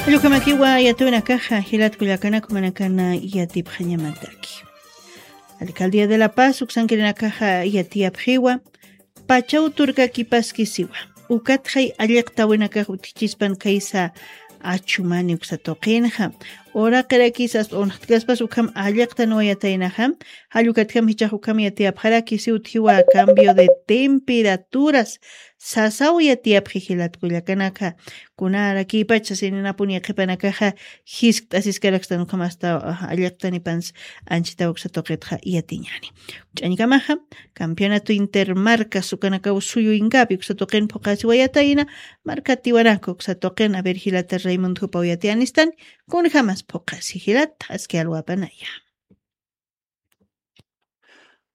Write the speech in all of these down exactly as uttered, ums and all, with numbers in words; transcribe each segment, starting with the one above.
Llukhamakiwa yatiyunakaxa jilat kullakanaka, jumanakana yatipxañamataki. Alcaldía de La Paz uksankirinakaxa yatiyapxiwa pachaw turkakipaskisiwa. Ukatxay alliqtawinakax utjichispan khaysa achumani uksa tuqinxa. Uraqirakis hasta unxtkaspas ukham alliqtaniwayataynaxa. Jallukatjam jichax ukham yatiyapxarakisi utjiwa cambio de temperaturas. Sasaw yatiyapxi jilat kullakanaka. Kunarakïpach sasinanapuni qhipanakaxa jiskt'asiskarakstan ukham hasta alliqtanipans anchitaw uksa tuqitxa yatiñani. Ch'añkamaxa, campeonato intermarcas ukanakaw suyu inkapi uksa tuqin phuqasiwayatayna. Markatiwanaka uksa tuqin, a ver jilata Raimundo jupaw yatiyanistan. Kunjamas phuqasi jilata aski alwapanaya.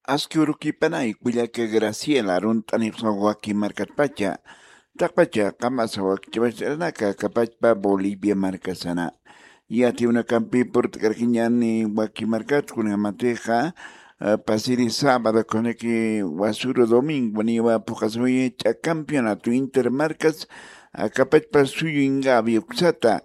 Aski urukipanay kullaka Graciela, arunt'anipxsa waki markatpacha. Taqpacha qamasa wakich'apacharanaka kapachpa Bolivia markasana. Yatiwnakampi purt'karkiñani waki markat kunjamatixa, pasiri sábado kunaki wasuru domingo niwa phuqasuyi ch'a campeonato intermarcas, kapachpa suyu ingavi uksata.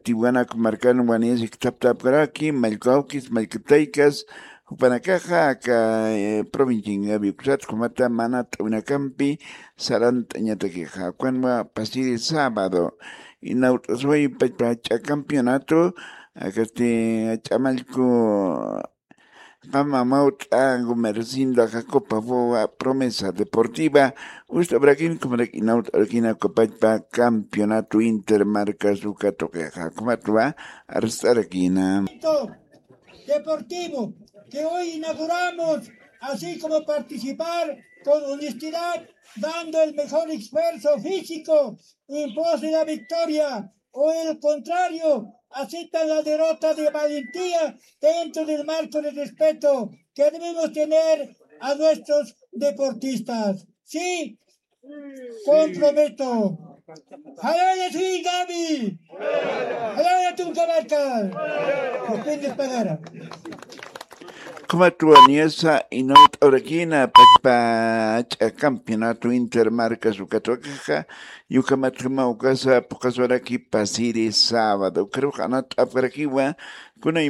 Tiwanaku markan waniyasi ktaptapkaraki mallkawkis mallkataykas, jupanakaxa aka provincia ingavi uksata jumata mana t'awinakampi sarant'añatakixa kunwa pasiri sábado. Inawt'asway pachpa ch'a campeonato, akasti ch'amallku qama mawt'a gumercinda jacopa fowa promesa deportiva. Ust'abrakina kumarak inawt'arakina kupachpa campeonato intermarcas uka tuqixa kumatwa arst'arakina. Deportivo que hoy inauguramos, así como participar con honestidad, dando el mejor esfuerzo físico en pos de la victoria o el contrario, aceptan la derrota de valentía dentro del marco de respeto que debemos tener a nuestros deportistas. Sí, comprometo. Jalaya Sui Gaby. Jalaya Tunca Marca. Depende pagara. Kumatwa niyasa inawt'awrakina pachpa ch'a campeonato intermarcas ukatwakaxa, yukamatjama ukasa phuqaswaraki pasiri sábado ukarux anat'apkarakiwa. Kuna